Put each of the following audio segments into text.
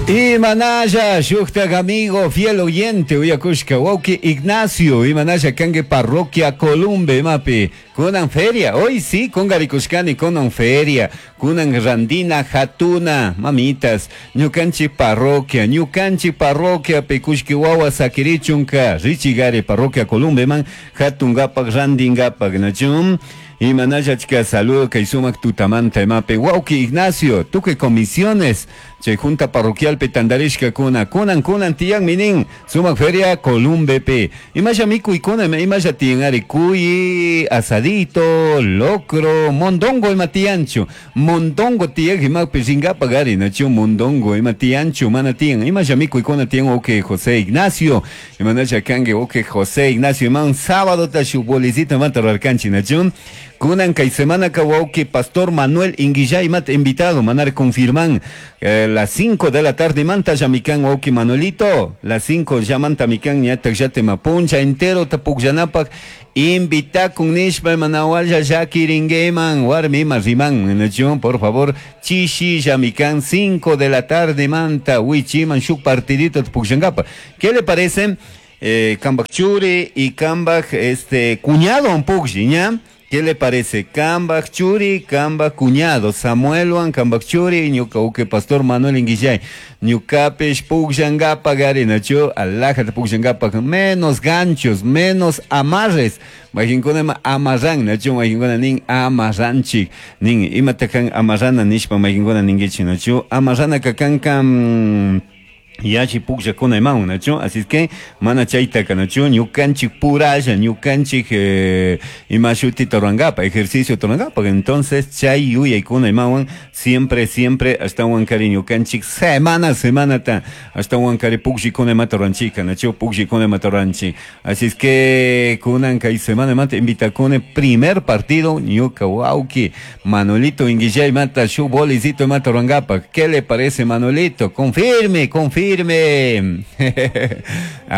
Imanalla shuktak amigo fiel oyente uyakushka wawki Ignacio imanalla kanki parroquia Columbe imapi kunan feria hoy sí kungarikushkani kunan feria kunan randina hatuna mamitas ñukanchik parroquia ñukanchik parroquiapi kullki wawa sakirichunka richigari parroquia Columbeman hatungapak randingapak nachun imanalla achka saludo kay sumak tutamanta imapi wawki Ignacio tukuy comisiones chay junta parroquialpi tantarishkakuna kunan kunan tiyanmi nin sumak feria Columbepi imasha mikuykuna imasha tiyanari cuy asadito locro mondongo ima tiyanchu mondongo tiyak imapi rinkapak ari nachu mondongo ima tiyanchu mana tiyan imasha mikuykuna tiyan wawki José Ignacio imanasha kanki wawki José Ignacio iman sábado ta shuk bolicito imata rurarkanchik nachu kunan kay semanaka wawki pastor Manuel Inguillay imata invitado manari confirman las 5 de la tarde manta llamikan wawki Manuelito las 5 llamanta mikan ñatak llatema puncha entero ta pukllanapak invitakun nishpa manawalla llakiringueman warmi ima riman nachu por favor chishi llamikan 5 de la tarde manta wichiman shuk partidito pukllankapa ¿qué le parece? Kambak churi y kambak este cuñado un puklli ña ¿Qué le parece? Kambak churi, kambak cuñado. Samuelwan, kambak churi, ñuka uke pastor Manuel Inguillay. Ñukapish pukllankapak ari nachu, alajata pukllankapak, menos ganchos, menos amarres. Mayqinkuna ima amarran, nachu, mayqinkuna nin amarranchik. Nin, imata kan amarrana nishpa mayqinkuna ninkichik, nachu. Amarranaka kanka yachi pukllakuna imawan, nachu, así es que mana chaytaka, nachu, ñukanchik puralla, ñukanchik ima shutita rurankapak, ejercicio rurankapak, entonces chay yuyaykuna imawan, siempre, siempre ashtawan kari ñukanchik semana, semanata, ashtawan kari pukllikuna imata ruranchika, nachu, pukllikuna imata ruranchik, así es que kunan kay semana imata invitakuni primer partido, ñuka wawki, Manuelito Inguillay imata shuk bolicito imata rurankapak, ¿qué le parece Manuelito? Confirme, confirme. A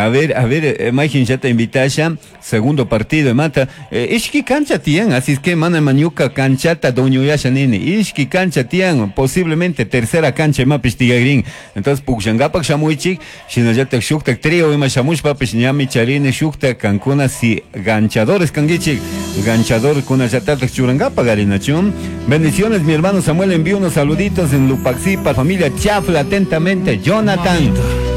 ver, mayqin llata invitasha, segundo partido mata. Ishki cancha tiyan, así es que mana mañuka canchata dueñoyasha nini. Ishki cancha tiyan, posiblemente tercera cancha imapish tiyagrin. Entonces pukllankapak shamuychik, shinallatak shuktak trío ima shamushpapish ñami charini shuktak kankuna si ganchadores kankichik, ganchador kunallatatak churankapak arinachu. Bendiciones mi hermano Samuel, envío unos saluditos en Lupaxipa, familia Chafla, atentamente, Jonathan.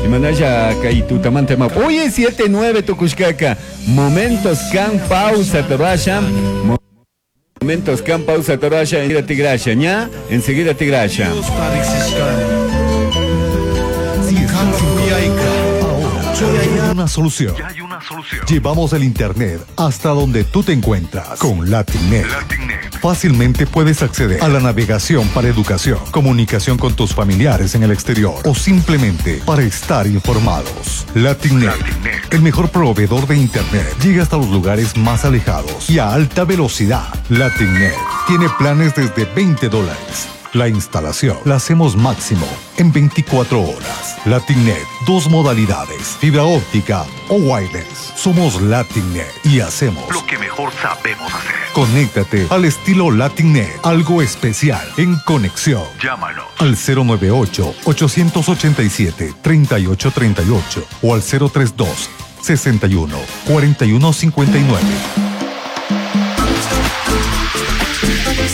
Imanalla kay tutamanta ma. Oye, 7-9 tukushkaka. Momentos kan pausa torasha. Momentos kan pausa torasha. Enseguida tigrasha, ña. Enseguida tigrasha. Ahora hay una solución. Ya hay una solución. Llevamos el internet hasta donde tú te encuentras con LatinNet. LatinNet. Fácilmente puedes acceder a la navegación para educación, comunicación con tus familiares en el exterior o simplemente para estar informados. LatinNet, LatinNet. el mejor proveedor de internet, llega hasta los lugares más alejados y a alta velocidad. LatinNet tiene planes desde veinte dólares. La instalación la hacemos máximo en 24 horas. LatinNet, dos modalidades, fibra óptica o wireless. Somos LatinNet y hacemos lo que mejor sabemos hacer. Conéctate al estilo LatinNet, algo especial en conexión. Llámanos al cero nueve ocho, ochocientos ochenta y siete, treinta y ocho treinta y ocho o al cero tres dos, sesenta y uno, cuarenta y uno cincuenta y nueve.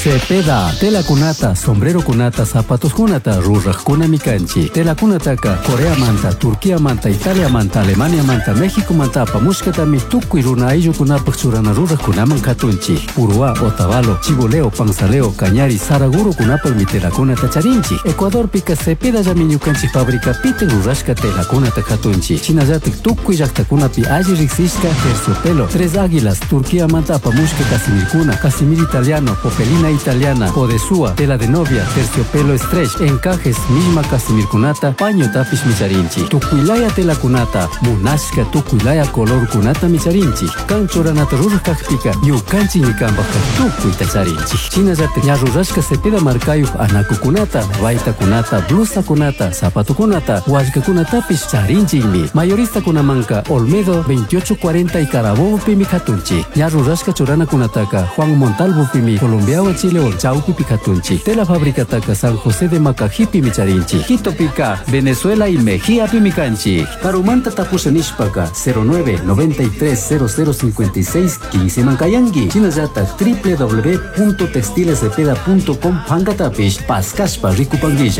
Cepeda, tela kunata, sombrero kunata, zapatos kunata, ruraj kunami kanchi. Tela kunataka, Corea manta, Turquía manta, Italia manta, Alemania manta, México manta, apamushkatami, tukuy runa ayllukunapaj churana ruraj kunaman katunchi. Uruá, Otavalo, Chiboleo, Panzaleo, Cañari, Saraguro kunapaj mi tela kunata charinchi. Ecuador pika Cepeda llami ñukanchik fábrica pite rurashka tela kunata katunchi. Shinallatik tukuy llaktakunapi alli riksishka terciopelo, Tres Águilas, Turquía manta apamushka casimirkuna, casimir italiano, popelina italiana, podesúa, tela de novia, terciopelo stretch, encajes, misma casimirkunata, paño tapish micharinchi, tukuilaya tela kunata, munashka tukuilaya color kunata micharinchi, kanchoranata rurajkajpika, ñukanchi ñikanpajka tukuyta charinchi. Shinallata ñarrurashka cepeda markayuj anakukunata, baytakunata, blusakunata, zapatukunata, wallkakunatapish charinchikmi. Mayorista kunamanka, Olmedo 2840 y Carabobo pimi katunchi. Ñarrurashka churanakunataka, Juan Montalvo pimi, Colombiawan Cachi León chawpipi katunchik. Tela fabricataka San José de Macajipimi charinchik. Quitopika Venezuela y Mejíapimi kanchik. Karumanta tapusha nishpaka 09 93 0056 15 mankayanki. Shinallatak www.textilescepeda.com pankatapish paskashpa rikupankilla.